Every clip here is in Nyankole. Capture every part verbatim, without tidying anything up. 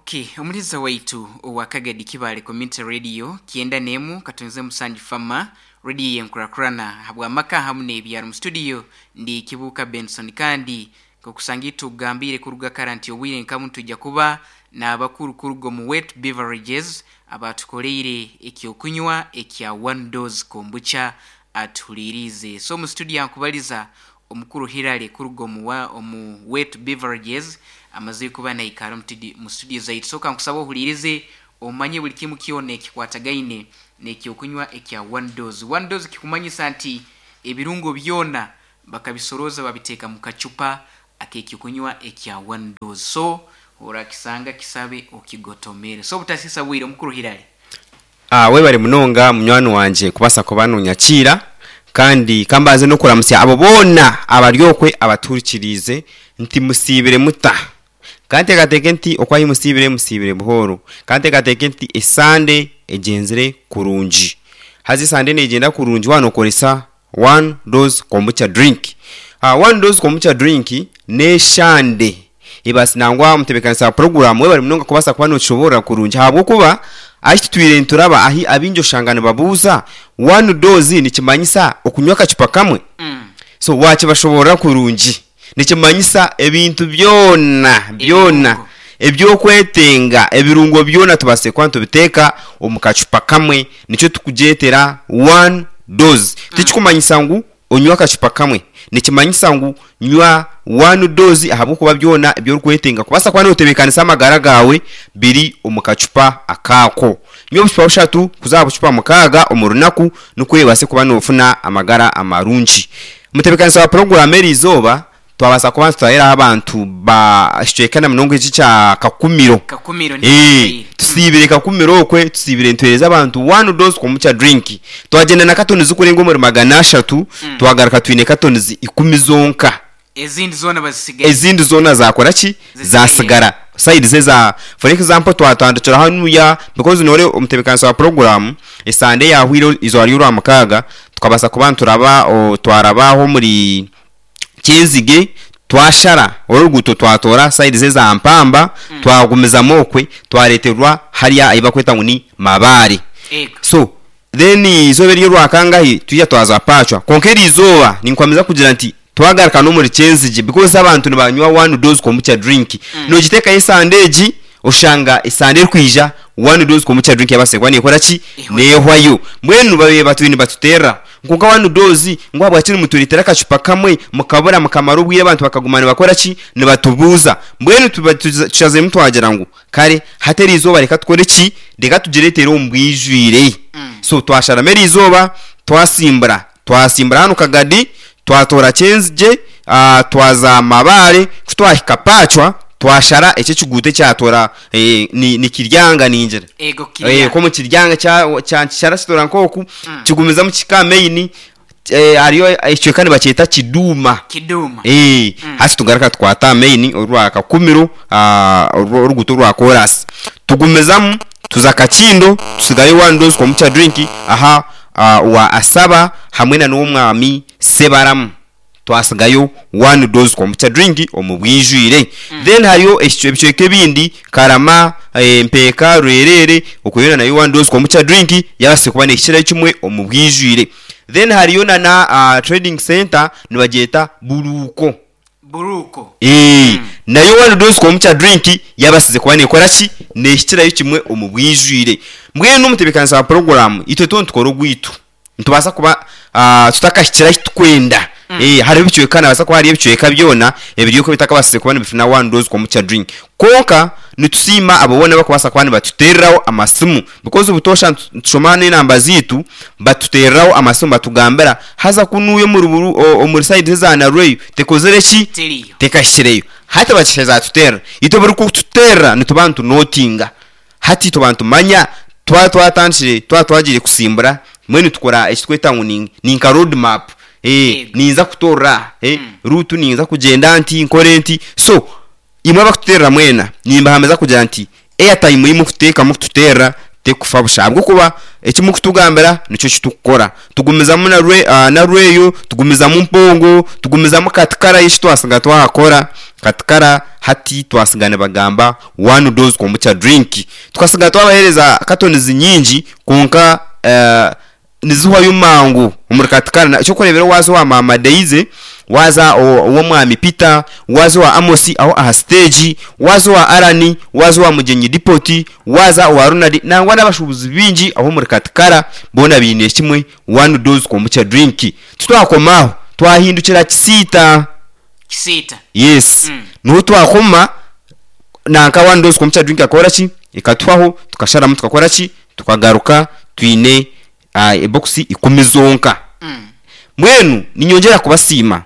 Okay, omuliza waitu owa Kagadi Kibale Community Radio kyenda nemu katonze musanju fama radio yenkurakurana habwamaka hamu n'ebyaro. Mu studio ndi Kibuuka Benson, kandi nkokusanga tugambire kuruga kara nti obwire nkamu tujja kuba n'abakuru kuruga omu Wet Beverages abatukoleire ekyokunywa ekya One Dose Kombucha atuhuliriize. So mu studio ankubaliza omukuru Hirale kuruga omu, wa- omu Wet Beverages amaze kuba naikara mu studio zaitu. So kankusaba ohulirize omanye buli kimu kyona ekikwatagaine n'ekyokunywa ekya One Dose. One Dose kikumanyisa nti ebirungo byona bakabisoroza babiteeka mu kacupa ak'ekyokunywa ekya One Dose. So orakisanga kisabe okigotomere. So obutasisa bwire, omukuru Hirale. Ah, webare munonga munywani wanje kubasa kuba nonyakiira, kandi kambaze n'okuramusya abo boona abari okwe abaturikiriize nti musiibire muta. Kanteekateeke nti okwahi musiibire, musiibire buhooro. Kanteekateeke nti esande egyenzire kurungi. Haza esande negyenda kurungi waaba nookoresa One Dose Kombucha drink. uh, one Dose Kombucha drink n'eshande ebasi nangwa omutebeekanisa wa program, webare munonga kubaasa kuba nokishoboorora kurungi, ahabw'okuba ahi tutwire nituraba ahi abingi oshanga nibabuuza, One Dose nikimanyisa okunywa akacupa kamwe? Mm. So wakibashoboorora kurungi, nikimanyisa ebintu byona byona Ebirungo. Ebyokwetenga, ebirungo byona tubaase kuba nitubiteeka omu kacupa kamwe, nikyo tukugyetera One Dose. Tikikumanyisa ngu onywe akacupa kamwe, nikimanyisa ngu nywa One Dose ahabw'okuba byona ebyorikwetenga kubaasa kuba notebeekanisa amagara gaawe biri omu kacupa akaako. Nywa obucupa bushatu kuza aha bucupa mukaaga omu runaku, nikwo obaase kuba noofuna amagara amarungi. Mutebeekanisa wa puroguramu, eri izooba twabaasa kuba nitutahiraho abantu ba ekicweka na munonga eki kya Kakumiro. Kakumiro ni Eh, tusiibire Kakumiro okwe, tusiibire nituheereza abantu One Dose Kombucha drink. Twagyenda na katoni zikurenga omuri magana ashatu, twagaruka twine katoni ikumi zonka. Ezindi zoona bazisigaye. Ezindi zoona zakora ki? Zisigaye. Zasigara side ze za, for example, twatandikira hanuya, because nore omutebeekanisa wa program, esande yahwire izooba ry'orwa mukaaga tukabasa kuba nituraba o, twarabaho omuri Kyenzige, twashara oruguuto, twatora side ze za Mpamba, twagumizamu okwe, twareterwa hariya ahi bakweta ngu ni Mabaare. Ego. So then izooba eryo rwakangahi twija twaza Pacwa, konka eri izooba ninkwamiza kugira nti twagaruka n'omuri Kyenzige, because abantu nibanywa One Dose Kombucha drink. mm. Nogiteekayo esande egi, oshanga esande erikwija One Dose Kombucha drink yabaase kuba nekora ki? Ehwayo. Nehwayo. Mbwenu babe batwire nibatuteerera nkonka One Dose ngu ahabwaki nimutureetera akacupa kamwe mukabura mukamara obwire, abantu bakaguma nibakora ki? Nibatubuuza. Mbwenu tuba tuza- tushaziremu twagira ngu kare hati eri izooba reka tukore ki? Reka tugireetere omu bwijwire. So twasharamo eri izooba, twasimbura twasimbura hano Kagadi, twatora Kyenzigye, uh, twaza Mabaare, kutwahika Pacwa twashara ekyo ekiguuto ekyatora eh, ni, ni Kiryanga ningira. Ego. Eh, Kiryanga. ko mu Kiryanga kya kya kishara kitora nk'oku kigumizamu kika main, eh, hariyo ekicweka nibakyeta Kiduuma. Kiduma. Eh, hasi tugaruka tukwata main orwa Kakumiro, ah, orwo- oruguuto rwa korasi, tugumizamu tuza Kakindo, tusigayo One Dose Kombucha drink aha ah, wa Asaba hamwe na n'omwami Sebaramu, twasigayo One Dose Kombucha drink omu bwijwire. Then hariyo ekicwe- ebicweka ebindi, Karama, eh, Mpeeka, Rwerere, okuyona nayo One Dose Kombucha drink yabase kuba nekikirayo kimwe omu bwijwire. Then hariyo na na uh, trading center nibagyeta Buruuko. Buruko. Eh, nayo One Dose Kombucha drink yabasize kuba nekora ki? Nehikirayo kimwe omu bwijwire. Mbwenu omutebeekanisa wa puroguramu, itwe tuba nitukora ogwitu, nitubaasa kuba uh, tutakahikira ahi tukwenda. Eh, hariho ebicweka, nabaasa kuba hariyo ebicweka byona ebiri okwo bitakabasize kuba nibifuna One Dose Kombucha drink, konka nitusiima abo boona bakubaasa kuba nibatuteereraho amasimu, because obutoosha nitu- nitushoma n'enamba ziitu, batuteereraho amasimu batugambira haza kunuuya omuri buru- o- omuri side eza Narweyo tekozire ki? Teriyo. Tekashikireyo. Hati bakisheza tuterera, itwe buri kututerera nituba nitunotinga, hati tuba nitumanya twa twatandikire, twa twagiire kusimbura. Mbwenu tukora ekitweta ngu ni ni nka road map, eh, Yego. ninza kutorera eh, route, ninza kugyenda nti, nkore nti. So imwe abakututerera mwena, nimbahamiza kugira nti airtime yimukuteekamu kututerera tekufa busha, ahabw'okuba ekimukutugambira nikyo kitukukora. Tugumizamu na rwe, uh, na Rweyo, tugumizamu Mpongo, tugumizamu Katikara eki twasiga twakora. Katikara hati twasigana bagamba one dose kombucha drink. Tukasiga twabahereza katonizi nyingi konka uh, nizihwayo mangu omuri Katikara. Ekyokurebera waza owa Mama Deize, waza ow'omwami Peter, waza owa Amosi aho aha stage, waza owa Arani, waza owa Mugenyi Dipoti, waza owa Ronald, nangwa n'abashubuzi bingi aho omuri Katikara boona biine kimwe one dose kombucha drink. Tutwakomaho twahindukira Kisiita. Kisiita. Yes. Mm. Niho twakoma nanka one dose kombucha drink akora ki ekatwaho, tukasharamu tukakora ki tukagaruka twine uh, ebokisi ikumi zonka. Mm. Mbwenu ninyongera kubasiima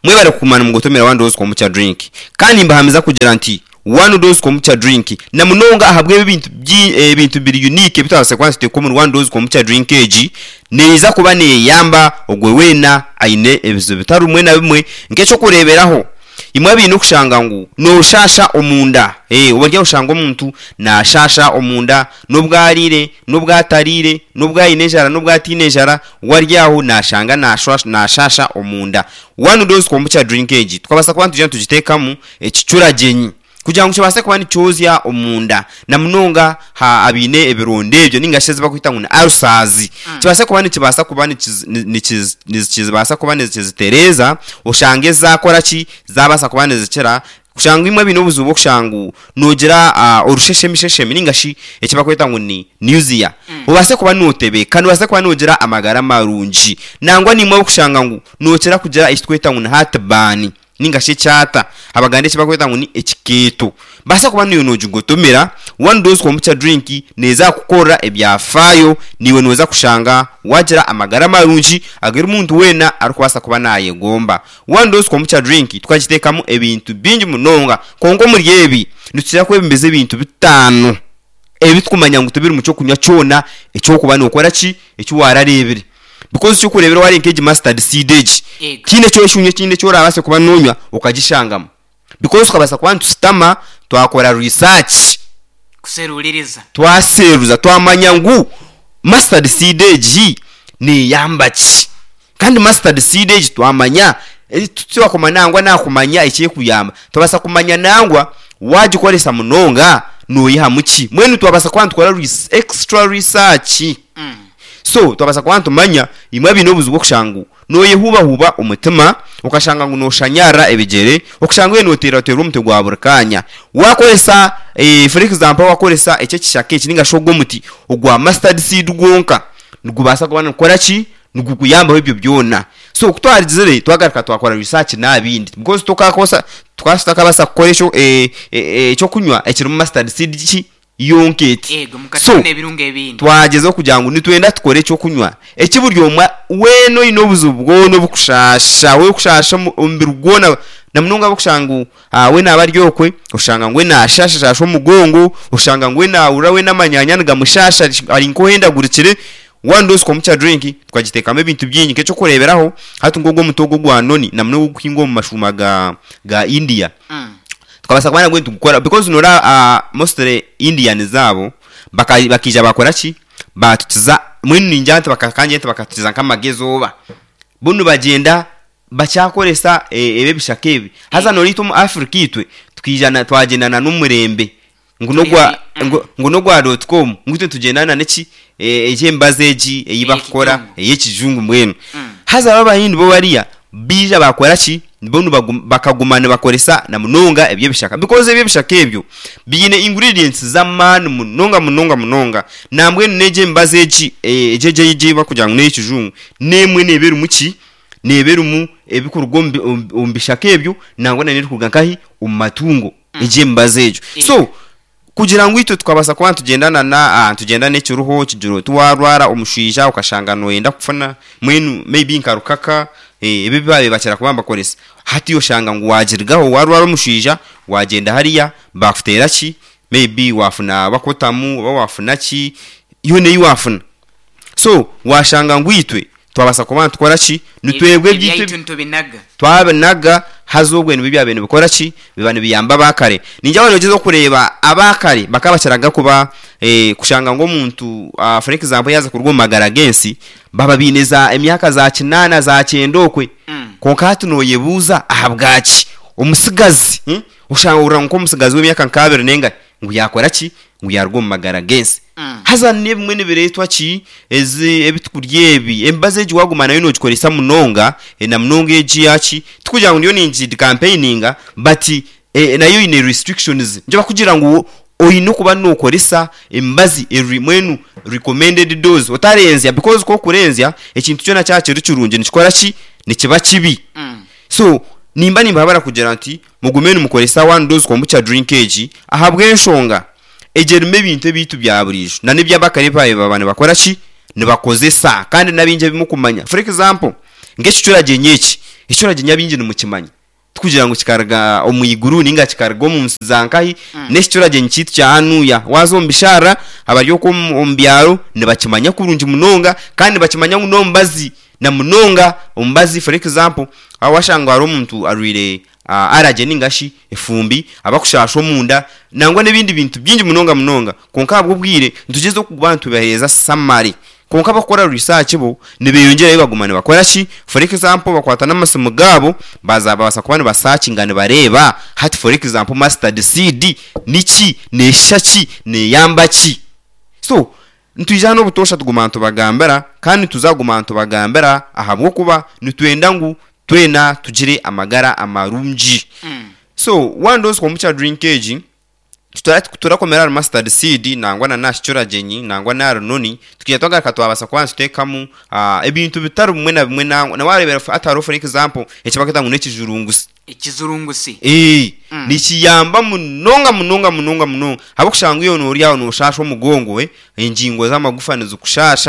mwebare kukumana mugotomera one dose kombucha drink, kandi mbahamiza kugira nti one dose kombucha drink na munonga ahabwe ebintu ebintu biri unique bitwase kwansi tekomuri one dose kombucha drink egi neiza kuba neyamba ogwe wena aine ebizibu bitari bimwe na bimwe. Nk'ekyo kureberaho imwe biine okushanga ngu noshasha omunda, eh obarya oshanga omuntu nashasha omunda n'obwarire n'obwatarire n'obwayine enjara n'obwatine enjara, waryaho nashanga nashasha nashasha omunda. One dose kombucha drink egi tukabasa kuba ntujya tugitekamu ekicuragenyi kugira ngu kibase kuba nikyozya omunda na munonga ha abine ebironda ebyo ninga shi bakwita ngu ni ulcers, kibase kuba nikibasa kuba nikibasa kuba nikizitereza oshange zakora ki zabasa kuba nizikira. Kushanga imwe bino obuzibu okushangu nogira uh, orusheshemisheshemi ninga shi ekibakweta ngu ni nausea, Mm. ubase kuba notebeka nubase kuba nogira amagara marungi, nangwa nimwe okushanga ngu nokira kugira ekitweta ngu ni heartburn ninga shi ekyata abaganda ekibakweta ngu ni ekikeeto, basa kuba niyo nogigotomera one dose kombucha drink neza kukora ebyafaayo, niwe noza kushanga wagira amagara marungi ageri omuntu wena arikubasa kuba nayegomba. One dose kombucha drink tukagitekamu ebintu bingi munonga, konka omuri ebi nitukira kwebembeza ebintu bitaano ebitukumanya ngu tibiri mu kyokunywa kyona ekyokuba nokora ki ekiwararebire, because kyokurebera wari nk'egi mustard seed egi Ego. kiine ekyoshunywa ekindi ekyorabase kuba nonywa okagishangamu, because tukabasa kuba nitusitama twakora research kuseruliriza twaseruza twamanya ngu mustard seed egi neyamba ki, kandi mustard seed egi twamanya tutwakoma nangwa nakumanya ekyekuyamba, twabasa kumanya nangwa wagikoresa munonga noyihamu ki. Mbwenu twabasa kuba nitukora res- extra research. Mm. So twabasa kuba nitumanya imwe biine obuzibu okushangu noyehubahuba omutima, okashanga ngu noshanyara ebigere, okushanga we noteerateera omutwe gwa buri kanya. Wakoresa eh, for example wakoresa ekyo ekishaka eki ninga shi ogw'omuti ogwa mustard seed gwonka nigubasa kuba nikukora ki nigukuyambaho ebyo byona. So kutwarigizire twagaruka twakora research n'abindi because tukakosa twasitakabasa kukora ekyo eh, eh, ekyokunywa ekirimu mustard seed ki yonka eti. Ego So, mukatuna ebirungo ebindi twageza okugira ngu nitwenda tukore ekyokunywa eki buri omwe weena oine obuzibu bwona obukushasha we kushasha omu- omubiri gwona na munonga abokushanga ngu ah, we naaba ari okwe oshanga ngu we nashashashasha omugongo, oshanga ngu we naahurira we n'amanyanya nigamushasha ari nk'ohendagurikire. One dose kombucha drink tukagitekamu ebintu bingi nk'ekyokureberaho hati nk'ogwo omuti ogwo gwa noni na munonga ogukuhingwa omu mashuuma ga, ga India, Mm. tukabasa kuba nagwe nitugukora because nora uh, mostly Indian zabo baka- bakija bakora ki batukiza mbwenu ningira nti bakakanja nti bakatukiza nk'amagezi oba bunu bagenda bakyakoresa eh, ebi ebishaka ebi haza noriitwe omu Africa itwe tukijana twagendana n'omurembe ngu nogwa Mm. ngu- ngu nogwa dot com ngu itwe tugendana neki eh, ekyembazi egi ei bakukora Ey'ekijungu. ey'ekijungu mbwenu. Mm. Haza abahindi bo bariya bija bakora ki bo bakaguma nibakoresa na munonga ebyebishaka, because ebyebishaka ebyo biine ingredients z'amaani munonga munonga munonga, nambwenu n'egi emibazi egi eh, egi egi egi bakugira ngu n'ey'ekijungu n'emwe neeba erimu ki neeba erimu ebikuruga omu bi- omu omu bishaka ebyo nangwa n'erikuruga nkahi omu matungo egi emibazi egyo. Ego. So kugira ngu itwe tukabasa kuba nitugendana na ah, nitugenda n'ekiruho kigira oti warwara omushaija okashanga noyenda kufuna mbwenu maybe nka rukaka eh, ebi babaire bakira kuba nibakoresa hati oshanga ngu wagirigaho warwara omushaija wagenda hariya bakuteera ki maybe wafuna bakotamu oba wafuna ki yoona ei wafuna. So washanga ngu itwe twabasa kuba nitukora ki nitwebwe ebyaitu ebyaitu ntubinaga twabinaga haza obwe nibyo byabaire nibikora ki biba nibiyamba abakare. Ningira abantu okureeba abakare bakabakiraga kuba eh, kushanga ngu omuntu uh, for example yaza kuruga omu magara g'ensi baba biine za emyaka za kinaana za kyenda okwe, Mm. konka hati noyebuuza ahabwaki Omusigazi hmm? Oshanga nk'omusigazi w'emyaka nk'abiri n'engahi ngu yakora ki, ngu yaruga omu magara g'ensi. Mm. Haza n'ebimwe nibireetwa ki? Ezi ebitukurya ebi, emibazi egi waguma nayo nogikoresa munonga, eh, na munonga egi yaki, tikugira ngu ndiyo ningi campaigninga, but eh, nayo eine restrictions. Nikyo bakugira ngu oine okuba nokoresa emibazi eri mwenu recommended dose, otarenzya, because kokurenzya ekintu kyona kyaba kiri kirungi nikikora ki? Nikiba kibi. Mm. So nimba nimbahabura kugira nti mugume nimukoresa one dose kombucha drink egi, ahabw'enshonga egi erimu ebintu ebiitu bya buriijo na n'ebyabakare babaire baba nibakora ki, nibakozesa, kandi n'abingi ebimukumanya. For example, nk'ekicuragyenyi eki, ekicuragyenyi abingi nimukimanya, tikugira ngu kikaruga omu iguru ninga kikaruga omu nsi za nkahi. Mm. N'ekicuragyenyi kiitu kya hanuya, waaza omu bisharara abari okwo omu omu byaro nibakimanya kurungi munonga, kandi nibakimanya ngu n'omubazi na munonga omubazi. For example, aho washanga hariho omuntu arwaire uh, allergy ningashi efumbi, abakushasha omunda, nangwa n'ebindi bintu bingi munonga munonga. Konka ahabw'obwire nitugyeza okuba nitubaheereza summary, konka abakukora research bo nibeyongyerayo, baguma nibakora ki? For example, bakwata n'amasimu gaabo, baza babaasa kuba nibasearchinga, nibareeba hati, for example, mustard seed niki, neshisha ki, neyamba ki? So nitwija hano obutoosha tuguma nitubagambira, kandi tuzaguma nitubagambira, ahabw'okuba nitwenda ngu twena tugire amagara amarungi. Mm. So one dose kombucha drink egi, tutora- turakomera ahari mustard seed, nangwa na nakicuragyenyi, nangwa n'ahari noni. Tukija twagaruka twabasa kuba nituteekamu ah, ebintu bitari bimwe na bimwe. Nangwa nawareebera hati hariho, for example, ekibakweta ngu n'ekijurungusi. Ekizurungusi. Ee, Mm. nikiyamba munonga munonga munonga munonga, ahabw'okushanga iyo noori aho noshasha omugongo, eh, engingo z'amagufa nizikushasha.